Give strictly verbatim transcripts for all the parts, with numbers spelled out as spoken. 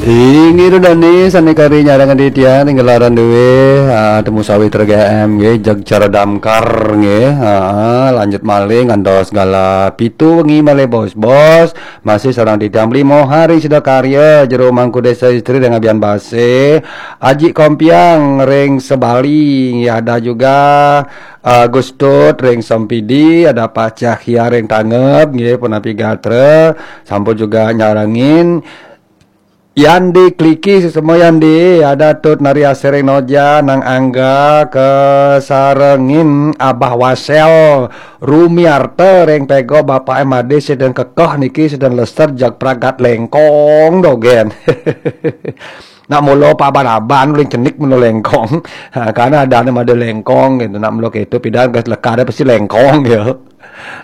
Inggih, Ida dané sané kari nyarengin titiang ring gelaran dué, ah, Temu Sawitra G M nggih, jeg cara damkar nggih. Ah, lanjut malih ngantos galah pitu wengi malih, Bos-bos. Masih sareng titiang Bli Moha ring Sidakarya, Jero Mangku Désa Istri ring Abian Basé, Aji Kompiang ring Sebali, nggih, ada juga, ah, Gus Tut ring Sempidi, ada Pak Cahya ring Tangeb nggih, punapi gatra, sampun juga nyarengin. Yandi Kliki, suksma Yandi, ada Tut Nari Asih ring Noja, Nang Angga, kasarengin Abah Wasel, Rumiarta ring Pego, Bapak M Ade, sida kekeh niki, sida leser, jag pragat lengkong dogén. Nak mula paban-aban uling cenik mula lengkong. Ha, karena adané mada lengkong gitu. Nak mula kéto pidan gas lekar pasti lengkong ya.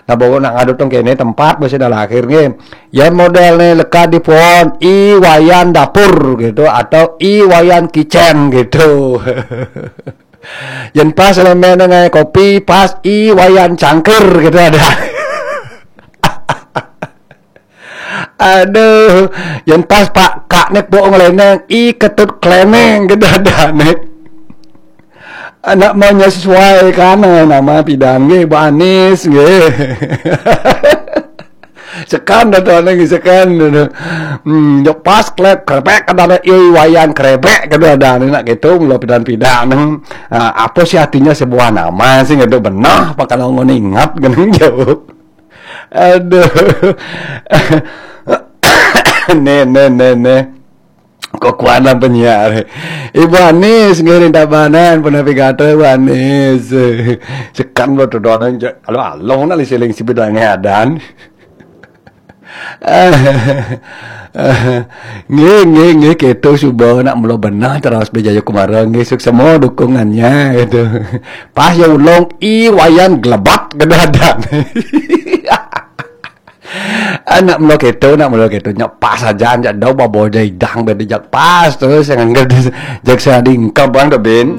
Nah, bawa nak ngadu tong kéné tempat masih dah lahir nggih. Yén model né lekar di pohon, I Wayan dapur gitu atau I Wayan kitchen gitu. Yén pas lémén ngai kopi, pas I Wayan cangkir gitu ada. Aduh, yén pas Pak Kak nek bok nglénéng, I Ketut klénéng gitu ada nek. Anak maunya sesuai kan, eh, nama pidan nggih, Bu Anis nggih. Sekan dah tuh, nggih, sekan dah tuh. Hmm, yo pas klep krepek, ada ada I Wayan krepek, kedua ada anak gitu, mula pidan-pidan. Ah, apa sih artinya sebuah nama sih, nggak benah, apa kalau ngono ingat, geneng jauh. Aduh. Nih, nih, nih, nih. Kok kuat lah penyiar. Ibu Anis, ngiring Tabanan, punapi gatra, Ibu Anis. Sekan lo tuh doang, kalau along nak siling si bidangnya adan. Nggih, nggih, nggih, kéto suba nak mula benah terus Bli Jayakumara, nggih, suksma dukungannya gitu. Pas ya ulung I Wayan glebat kedadan. Anak mula kéto, nak mula kéto, nyak pas aja, nyak dau babo jai dang bedi jak pas terus, jangan gede, jak saya dingkep bang debin.